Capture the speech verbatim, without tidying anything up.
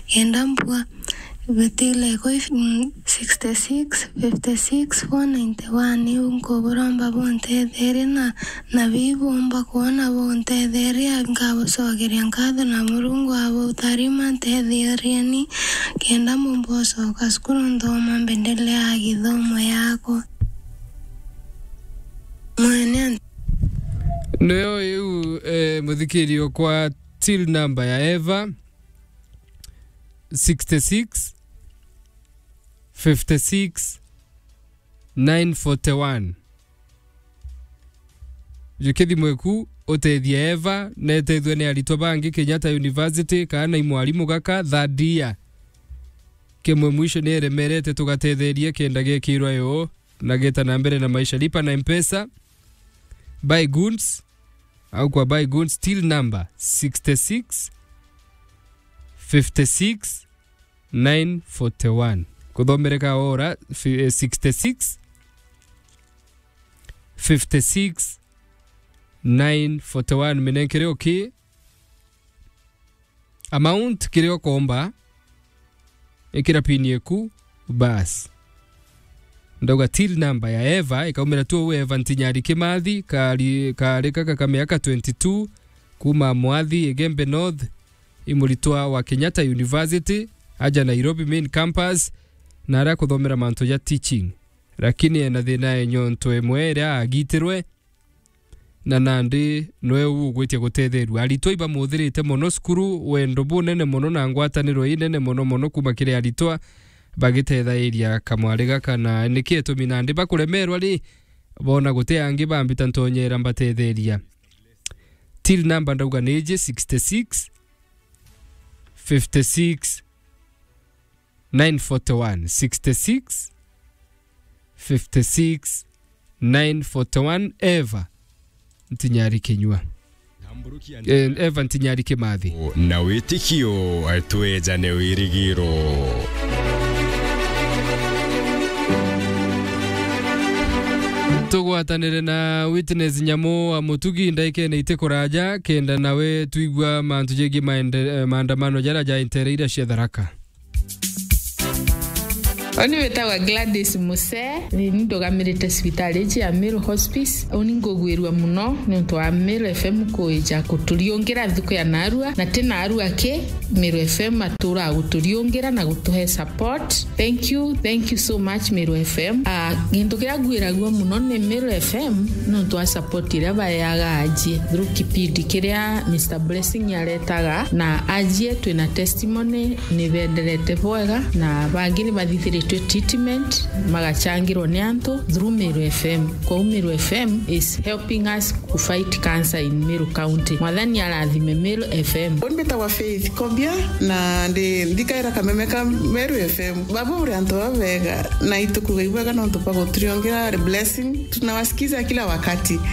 Kenda mbua bitile kwi, mm, sixty six, fifty six, four ninety one. Iu nkuburomba buntetherie na, na bibumba kwona buntetherie, nkabucokeria nkatho na Murungu abutharima. Ntetheerieni kenda mbumba ucoka cukuru nthoma mbendelea githomo yakwa. Mwene. Nio iu, eh, muthikiri okwa till number ya Eva, sixty six, fifty six, nine forty one. Jukia thimu eku, utethie Eva, na etethue ni aritwa bangi Kenyatta University, kana i mwarimu gaka, third year. Kimwe mwisho ni eremerete, tugatetheria kenda gekirwa yo, na geta na mbere na maisha. Lipa na Mpesa, buy goods, au kwa buy goods, till number sixty six, fifty six, nine forty one. Kuthomereka ora, fi-, eh, sixty six, fifty six, nine forty one. Minenkere oki. Amount kiria ukomba, ikira pin yeku, bas. Ndauga till number ya Eva, ikaumira tu uu Eva Ntinyari Kimathi, kari, kari kaka ka miaka twenty two, kuma Mwathi, Igembe North, i muritwa wa Kenyatta University, aja Nairobi main campus, na aria kuthomera mantu ja teaching. Lakini ena thina ya nyonto imwe iria agitirwe, na nandi nwe ugwitia gutetherua. Aritwa ibamuthirite mono cukuru, wendo bunene mono na ngwataniro inene mono mono kuma kiri aritwa bagitethairia kamwari gaka, na niki itumi nandi bakuremerwa ri, bona guti angi bambita ntonyera mbatetheria. Till number ndauga ni iji sixty six, fifty six, nine forty one, sixty six, fifty six, nine forty one, Eva Ntinyari Kinyua. Eh, Eva Ntinyari Kimathi. Na witikio, twejane wirigiro. Tugwatanire na Witness Nyamu wa Mutugi ndaikene iti kuraja, kenda nawe twigua mantu jegii maende-, eh, maandamano jaria jaentereire cia Tharaka. Oni witagwa Gladys Muse, ni ndugamirite cibitari iji ya Meru Hospice. Uni ngugwirua muno niuntu wa Meru F M kuija kuturiungira nthuku ya narua, na ti narua ki, Meru F M atura guturiungira na gutuhe support. Thank you, thank you so much, Meru F M. Ah, gintu kiria ngwiragua muno ni Meru F M niuntu wa support iria baeaga ajie through kipindi kiria Mister Blessing aretaga, na ajie twina testimony ni benderete bwega, na bangi ni bathithiritwe treatment magachangirwa ni antu through Meru F M. Kwou Meru F M is helping us to fight cancer in Meru County. Mwathani arathime Meru F M. Uni mbitagwa Faith Kobia, na ndi nthikaira kameme ka Meru F M. Baba uri antu babega, na itukuga ibwega nontu bwa guturiongera blessing. Tunawasikiza kila wakati.